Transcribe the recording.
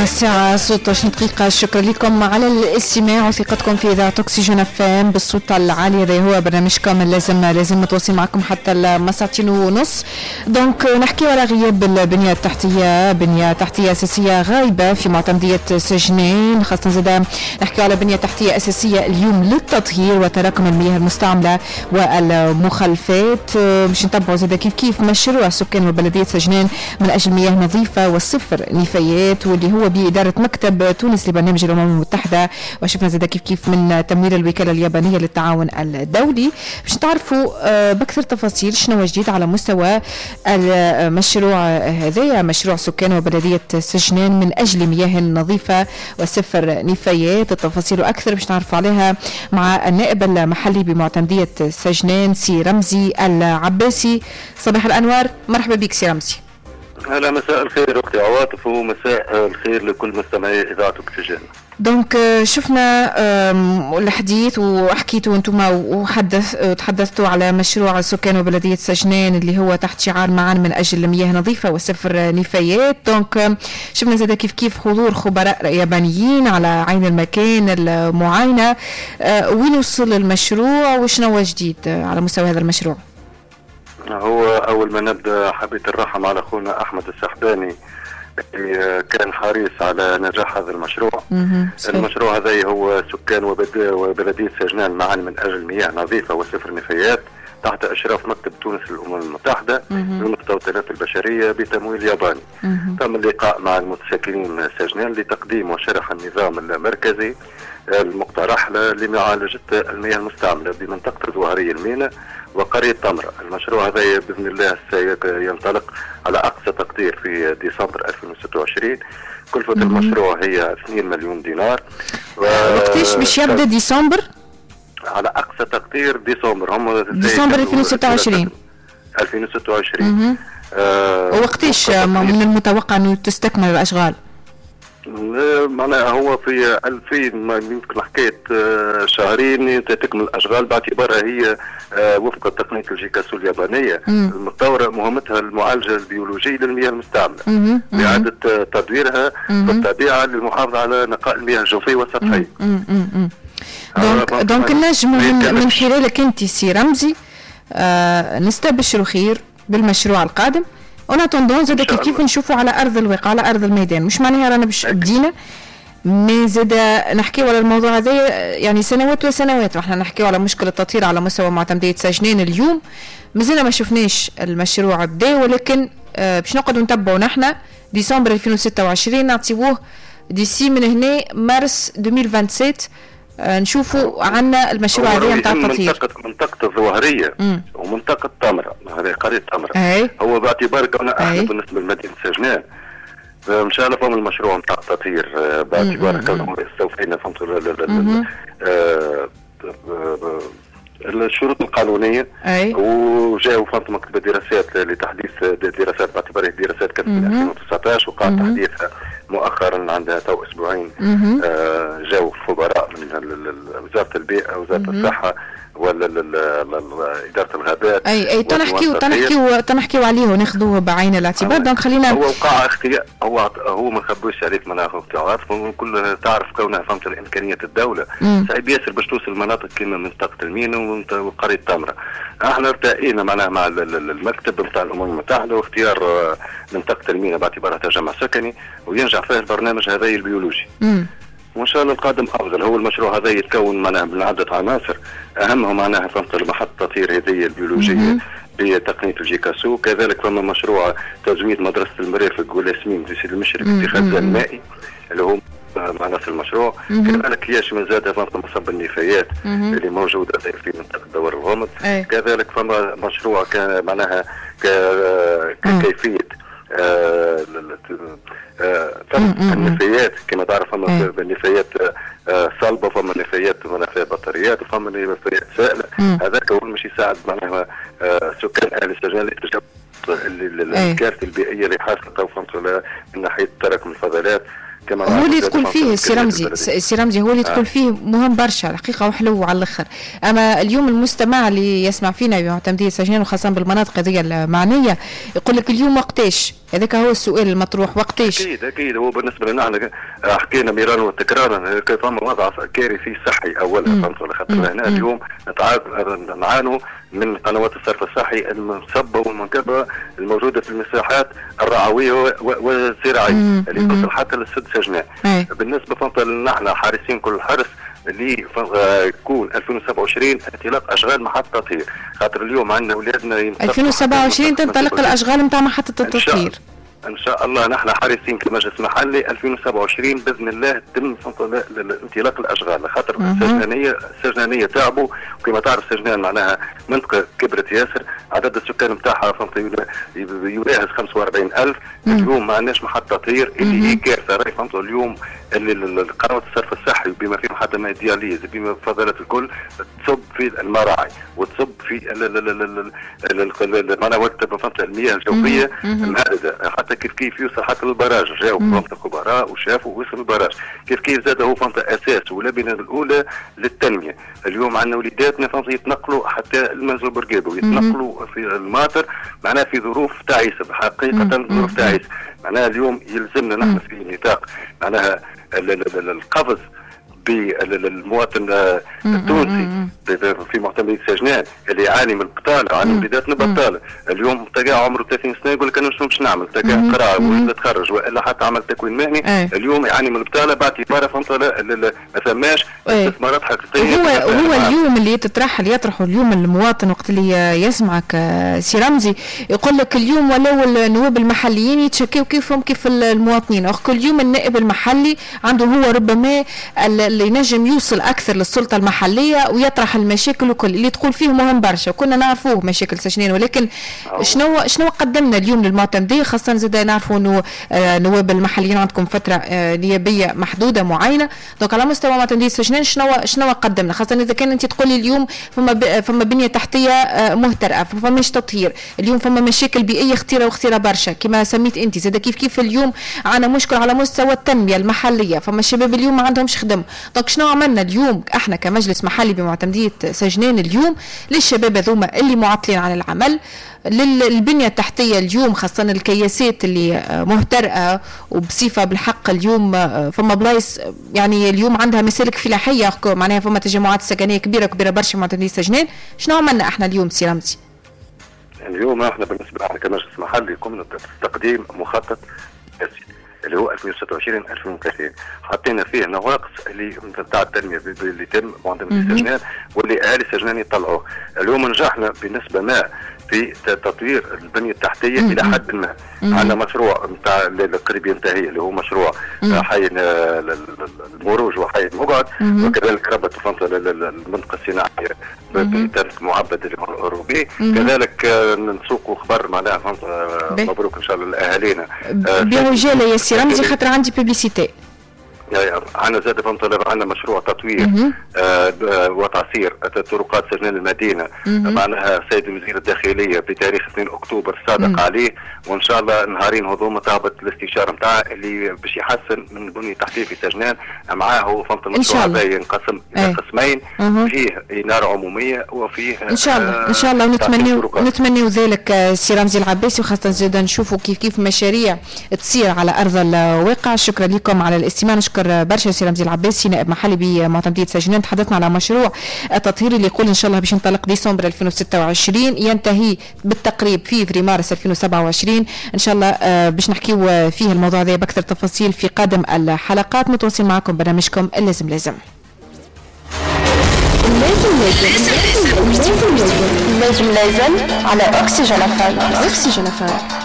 الساعة 16 دقيقة. شكرا لكم على الاستماع وثقتكم في إذاعة أكسجين FM بالصوت العالي. هذا هو برنامجكم اللازم لازم متواصل معكم حتى 2:30. donc نحكي على غياب البنية التحتية، بنية تحتية أساسية غايبة في معتمدية سجنان، خاصة زاد نحكي على بنية تحتية أساسية اليوم للتطهير وتراكم المياه المستعملة والمخلفات. باش نتبعوا زاد كيف كيف مشروع سكان وبلدية سجنان من أجل مياه نظيفة والصفر نفايات، واللي هو بإدارة مكتب تونس لبرنامج الأمم المتحدة، وشفنا زاد كيف كيف من تمويل الوكالة اليابانية للتعاون الدولي. باش تعرفوا بأكثر تفاصيل شنو جديد على مستوى المشروع هذايا، مشروع سكان وبلدية سجنان من أجل مياه نظيفة وصفر نفايات، التفاصيل أكثر باش نعرفوا عليها مع النائب المحلي بمعتمدية سجنان سي رمزي العباسي. صباح الأنوار، مرحبا بك سي رمزي. هلا، مساء الخير اختي عواطف، ومساء الخير لكل مستمعي اذاعة اكسجين. donc شفنا الحديث وحكيتوا انتم وتحدثتوا على مشروع سكان وبلديه سجنان اللي هو تحت شعار معا من اجل مياه نظيفة وصفر نفايات. donc شفنا زاد كيف كيف حضور خبراء يابانيين على عين المكان المعاينة. وين وصل المشروع وشنو جديد على مستوى هذا المشروع؟ هو أول ما نبدأ حبيت الرحم على أخونا أحمد السحباني اللي كان حريص على نجاح هذا المشروع. المشروع هذا هو سكان وبلدية سجنان معا من أجل مياه نظيفة وصفر نفايات تحت إشراف مكتب تونس للأمم المتحدة للمستوطنات البشرية بتمويل ياباني. تم اللقاء مع المتساكنين سجنان لتقديم وشرح النظام المركزي المقترح لمعالجة المياه المستعملة بمنطقة الزوهرية المينا وقرية تمرة. المشروع هذا بإذن الله سينطلق على أقصى تقدير في ديسمبر 2026. كلفة المشروع هي 2 مليون دينار. وقتاش باش يبدأ؟ ديسمبر؟ على أقصى تقدير ديسمبر، هم ديسمبر 2026. 2026. وقتاش من المتوقع أنه تستكمل الأشغال؟ معناها هو في 2000 يمكن حكاية شهرين تكمل الاشغال، باعتبارها هي وفق تقنية الجيكاسو اليابانية المتطورة، مهمتها المعالجة البيولوجية للمياه المستعملة لاعادة تدويرها في الطبيعة للمحافظة على نقاء المياه الجوفيه والسطحيه. donc نجم من خلالك انت سي رمزي نستبشروا خير بالمشروع القادم. en attendant زاد كيف نشوفوا على ارض الواقع، على ارض الميدان، مش معناها رانا باش بدينا، mais زاد نحكيو على الموضوع هذا يعني سنوات وسنوات واحنا نحكيو على مشكل التطهير على مستوى معتمديه سجنان. اليوم مازلنا ما شفناش المشروع بدا، ولكن باش نقعدوا نتبعوا نحن ديسمبر 2026 نعطيوه d'ici من هنا مارس 2027 نشوفوا عنا المشروع هذا نتاع التطهير. منطقة الظواهرية ومنطقة تمرة، هذه قرية تمرة. هو باعتبار كون احنا بالنسبة لمدينة سجنان ان شاء الله فهم المشروع نتاع التطهير باعتبار كون استوفينا فهمت الشروط القانونية وجاءوا فهمت مكتب الدراسات لتحديث دراسات، باعتبار الدراسات كانت من 2019 وقع تحديثها مؤخرا عندها تو اسبوعين. جاوا خبراء من وزارة البيئة، وزارة الصحة، ولا ادارة الغابات. اي تنحكيو عليه وناخذوه بعين الاعتبار. donc خلينا هو وقع اختيار، هو ما نخبوش عليك معناها كل تعرف كونها فهمت الامكانيات الدولة صعيب ياسر باش توصل مناطق كيما منطقة المينا وقرية تمره. احنا ارتئينا معناها مع المكتب نتاع الامم المتحدة واختيار منطقة المينا باعتبارها تجمع سكني وينجح فيه البرنامج هذا البيولوجي. وان شاء الله القادم افضل. هو المشروع هذا يتكون معناها من عده عناصر، اهمها معناها فهمت محطة التطهير هذه البيولوجية بتقنية الجيكاسو. كذلك فما مشروع تزويد مدرسه المرافق والياسمين في سيد المشرف في خزان مائي اللي هو معنا في المشروع. كذلك يشمل زاد فهمت مصب النفايات اللي موجودة في منطقة دوار الغمد. كذلك فما مشروع كان معناها كيفية النفايات، كما تعرف فما نفايات صلبه، فما نفايات فيها بطاريات، وفما نفايات سائله. هذاك هو مش يساعد معناها سكان اهل سجنان الكارثة البيئية اللي حاصله فهمت من ناحية تراكم الفضلات. كما هو اللي تقول فيه سي رمزي، سي رمزي هو اللي تقول فيه مهم برشا الحقيقة وحلو على الاخر. اما اليوم المستمع اللي يسمع فينا بمعتمديه سجنان وخاصة بالمناطق هذه المعنية يقول لك اليوم وقتاش؟ هذاك هو السؤال المطروح، وقتاش؟ اكيد اكيد. هو بالنسبة لنا احنا حكينا مرارا وتكرارا فما وضع كارثي صحي اولا، فهمت؟ خاطر هنا اليوم نعانوا من قنوات الصرف الصحي المنصبه والمنكبه الموجودة في المساحات الرعويه والزراعيه اللي تصل حتى للسد سجنان. بالنسبة فهمت نحن حارسين كل الحرس اللي يكون 2027 انطلاق اشغال محطة تطهير، خاطر اليوم عندنا اولادنا 2027 تنطلق الاشغال نتاع محطة التطهير ان شاء الله. نحن حريصين كمجلس محلي 2027 باذن الله تم انطلاق الاشغال، خاطر السجنانيه تعبوا، وكما تعرف سجنان معناها منطقة كبرت ياسر، عدد السكان نتاعها فهمت يناهز 45,000. اليوم ما عندناش محطة تطهير اللي هي كارثة راهي، فهمت؟ اليوم اللي قنوات الصرف الصحي بما فيهم حتى ما dialyse بما فضلات الكل تصب في المراعي وتصب في معناها فهمت المياه الجوفيه المهدده، حتى كيف كيف يوصل حتى لل barrage. جاو فهمت الخبراء وشافوا وصل لل barrage، كيف كيف زاد هو فهمت اساس ولبنة الاولى للتنمية. اليوم عندنا وليداتنا فهمت يتنقلوا حتى المنزل بورقيبة ويتنقلوا في الماطر، معناها في ظروف تعيسه حقيقة، ظروف تعيسه. معناها اليوم يلزمنا نحن في نطاق معناها القفز بالمواطن التونسي في معتمدية سجنان اللي يعاني من البطالة، يعاني من وليداتنا بطاله. اليوم تلقى عمره 30 سنة يقول لك انا شنو باش نعمل؟ تلقى قرا ولا تخرج والا حتى عمل تكوين مهني، اليوم يعاني من البطالة باعتباره فهمت ما ثماش استثمارات حقيقية. هو اليوم اللي تطرح اللي يطرحه اليوم المواطن وقت اللي يسمعك سي رمزي يقول لك اليوم ولو النواب المحليين يتشكيو كيفهم كيف المواطنين، كل يوم النائب المحلي عنده هو ربما اللي ينجم يوصل اكثر للسلطة المحلية ويطرح المشاكل وكل اللي تقول فيه مهم برشا، وكنا نعرفوه مشاكل سجنان، ولكن شنو قدمنا اليوم للمعتمديه؟ خاصة زاد نعرفوا انه نواب المحليين عندكم فترة نيابية محدودة معينة، donc على مستوى معتمديه سجنان شنو قدمنا؟ خاصة اذا كان انت تقولي اليوم فما بنيه تحتيه مهترئه، فماش تطهير، اليوم فما مشاكل بيئية خطيرة وخطيرة برشا كما سميت انت، زاد كيف كيف اليوم عندنا مشكل على مستوى التنمية المحلية، فما الشباب اليوم ما عندهمش خدم. donc شنو عملنا اليوم احنا كمجلس محلي بمعتمديه سجنان اليوم للشباب هذوما اللي معطلين عن العمل، للبنيه التحتية اليوم خاصة الكياسات اللي مهترئه وبصفه بالحق اليوم فما بلايص يعني اليوم عندها مسالك فلاحية، معناها فما تجمعات سكنية كبيرة كبيرة برشا معتمديه سجنان. شنو عملنا احنا اليوم سي رمزي؟ اليوم احنا بالنسبة لنا كمجلس محلي قمنا بتقديم مخطط اللي هو 2026 2030، حطينا فيه نواقص اللي نتاع التنمية اللي تم معتمدية سجنان واللي اهالي سجنان يطلعوه. اليوم نجحنا بنسبة ما في تطوير البنية التحتية الى حد ما. عندنا مشروع نتاع القريب ينتهي اللي هو مشروع حي المروج وحي المقعد، وكذلك ربط المنطقة الصناعية بطريق معبد اللي هو الاوروبي. كذلك نسوقوا خبر معناها مبروك ان شاء الله لاهالينا بعجاله يا سي رمزي خاطر عندي publicité. عندنا زاد فهمت عندنا مشروع تطوير وتعصير طرقات سجنان المدينة، معناها السيد وزير الداخلية بتاريخ 2 اكتوبر صادق عليه، وان شاء الله نهارين هذوما تهبط الاستشارة نتاعه اللي باش يحسن من البنية التحتية في سجنان. معاه فهمت المشروع هذا ينقسم الى قسمين، فيه انارة عموميه وفيه ان شاء الله ان شاء الله نتمنيو ذلك سي رمزي العباسي، وخاصة زاد نشوفوا كيف كيف مشاريع تصير على ارض الواقع. شكرا لكم على الاستماع، نشكر برشا سي رمزي العباسي نائب محلي بمعتمدية سجنان. تحدثنا على مشروع التطهير اللي يقول ان شاء الله باش ينطلق ديسمبر 2026 ينتهي بالتقريب في مارس 2027 ان شاء الله. باش نحكيو فيه الموضوع هذا باكثر تفاصيل في قادم الحلقات. متواصلين معكم برنامجكم اللازم لازم لازم لازم لازم لازم لازم على أكسجين أفهم. أكسجين أفهم.